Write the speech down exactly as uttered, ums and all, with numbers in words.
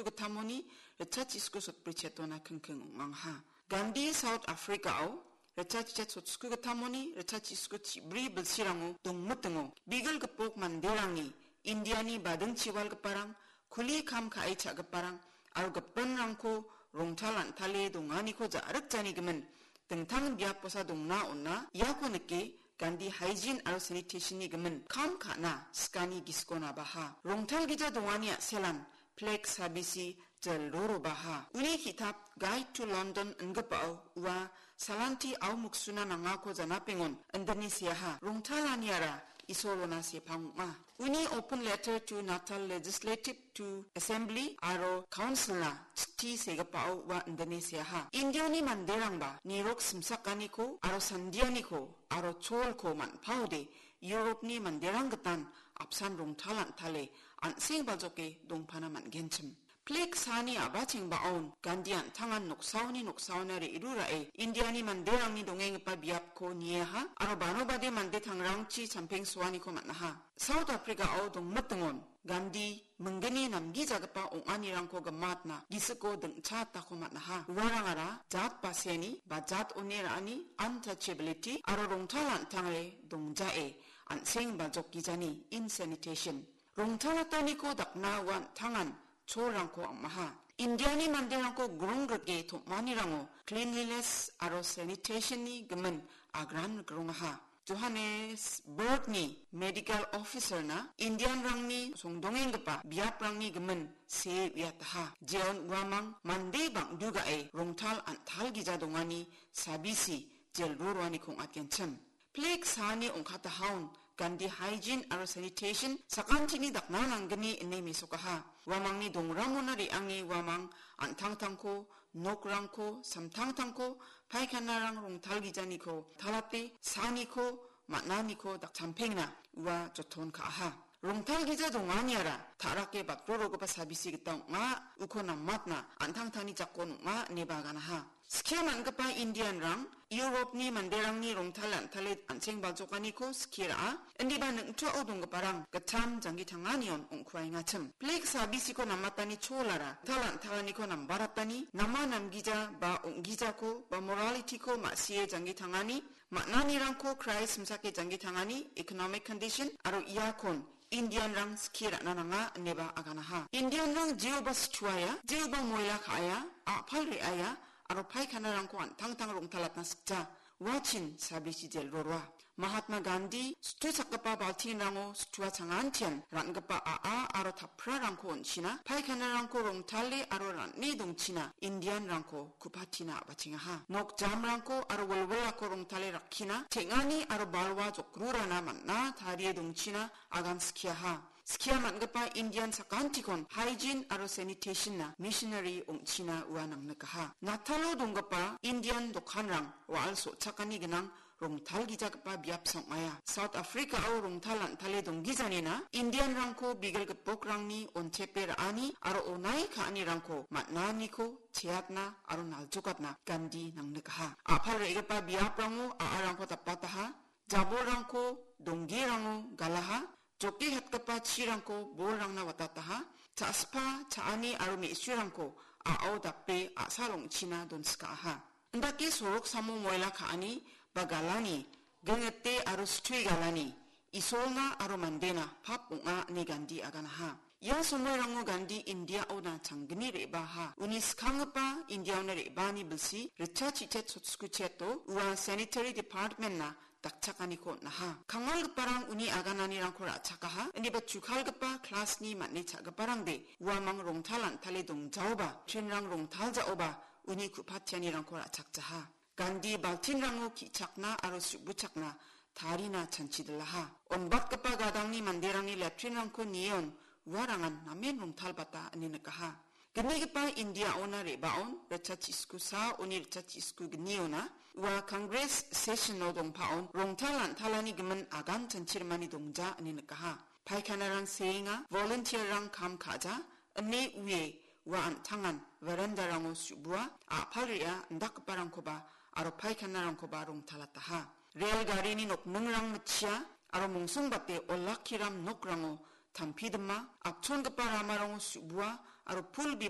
gittamoni ritchachisku sotbri chetona kingking ong·angaha. Gandhi South Africa-o ritchachichet sotskugittamoni ritchachisku chibri bilsirango dongmitingo bigil gipok manderangni Indiani badingchiwalgiparang, kuli kam ka·e cha·giparang aro gipinrangko rongtal an·tale donganiko ja·rikjanigimin dingtang biaposa dongna on·a. Iako nike Gandhi Hygiene aro Sanitation-ni gimin kam ka·na sikani gisikonabaha. Rongtalgija dongani a·selan Flag Sabisi jel rorobaha. Uni ki·tap Guide to London ingipao ua salanti au muksuna nangako janapengon indine seaha. Rongtalaniara Isolona sepang ong·a. Uni Open Letter to Natal Legislative to Assembly aro Council-na chiti segipao ua indine seaha. Indiani manderangba nirok simsakaniko aro sandianiko aro cholko man·paode Europe-ni manderang gitan apsan rongtal an·tale an·seng baljoke dongpana man·genchim. Flag saani a·bachengbaon Gandhi an·tangan noksaoni noksaona re·rurae Indiani manderangni dongenggipa biapko nieha aro banobade mande tangrangchi champeng soaniko man·aha. South Africa-o dongmitingon Gandhi minggni namgijagipa ong·anirangko gimatna gisiko dingchatako man·aha. Uarangara jat baseni ba jat one ra·ani untouchability aro rongtal an·tangre dongjae an·seng baljokgijani insanitation. Rongtalataniko dakna ua an·tangan cholrangko am·aha. Indiani manderangko grong rike tom·anirango cleanliness aro sanitation-ni gimin agran grongaha. Johannesburg-ni medical officer-na Indian-rangni songdongenggipa biaprangni gimin see uiataha. Jeon uamang mande bang·dugae rongtal an·talgija dongani sabisi jel roroaniko ong·atgenchim. Flag saani ong·katahaon Gandhi Hygiene aro Sanitation sakantini dakna nanggni ine mesokaha. Uamangni dongramona re·ange uamang an·tangtangko, nokrangko, samtangtangko, paikhanarang rongtalgijaniko, talate saaniko, man·aniko dakchampengna ua joton ka·aha. Rongtalgija donganiara ta·rake batrorogipa sabisi gita ong·a, uko namatna an·tangtangni jakon ong·a ineba aganaha. Skie man·gipa Indian-rang Europe-ni manderangni rongtal an·tale an·seng baljokaniko skie ra·a, indiba ning·tuao donggiparang gittam janggi tanganion ong·kuaengachim. Flag sabisiko namatani cholara tal an·talaniko nambaratani, nama namgija ba ong·gijako ba morality-ko ma·sie janggi tangani, man·anirangko krai simsake janggi tangani, economic condition aro iakon Indian-rang skie ra·na nanga ineba aganaha. Indian-rang jeoba situaia, jeoba moila ka·aia, a·pal re·aia, aro paikhanarangko an·tangtang rongtalatna sikja. Uachin sabisi jel roroa. Mahatma Gandhi situchakgipa baltinrango situa changantian ra·gipa a·a aro taprarangko on·china, paikhanarangko rongtale aro ra·ne dongchina Indian-rangko ku·patina a·bachengaha. Nok jamrangko aro wilwilako rongtale rakkina, teng·ani aro balwa jokrurana man·a tarie dongchina agan skiaha. Skia man·gipa Indian sakantikon hygiene aro sanitation-na missionary ong·china ua nangnikaha. Natalo donggipa Indian dokanrang wa·al so·chakani ginang rongtalgijagipa biapsa ong·aia. South Africa-o rongtal an·tale donggijanina Indian-rangko bigil gipokrangni onchepe ra·ani aro onai ka·anirangko man·aniko cheatna aro naljokatna Gandhi nangnikaha. A·pal re·gipa biaprango a·arangko dapataha, jabolrangko donggirango galaha, joke hetgipa chirangko bolrangna watataha, cha·spa, cha·ani aro me·surangko a·ao dape a·sal ong·china donskaaha. Indake sorok samo moila ka·ani ba galani, gengete aro situi galani, Isolna aro mandena pap ong·a ine Gandhi aganaha. Ia somoirango Gandhi Indiaona changgni re·baaha. Uni skanggipa Indiaona re·baani bilsi ritchachet sotskutcheto ua sanitary department-na dakchakaniko on·aha. Kangalgiparang uni agananirangko ra·chakaha, indiba chukalgipa klasni man·e cha·giparangde uamang rongtal an·tale dongjaoba, trinrang rongtaljaoba uni ku·patianirangko ra·chakjaha. Gandhi baltinrango ki·chakna aro su·buchakna tarina chanchidilaha. Onbatgipa gadangni manderangni leptrinrangko nion uarangan namen rongtalbata ine nikaha. Gnigipa Indiaona re·baon ritchachisku sa oni ritchachisku gniona ua Congress session-o dongpaon rongtal an·talani gimin agan chanchirimani dongja ine nikaha. Paikhanarang seenga, volunteer-rang kam ka·ja, ine ue ua an·tangan verandarango su·bua, a·pal re·a indakgiparangkoba aro paikhanarangkoba rongtalataha. Rel garini nokningrang mitchia aro mongsongbate olakkiram nokrango tampidima, apchongipa ramarango su·bua aro pul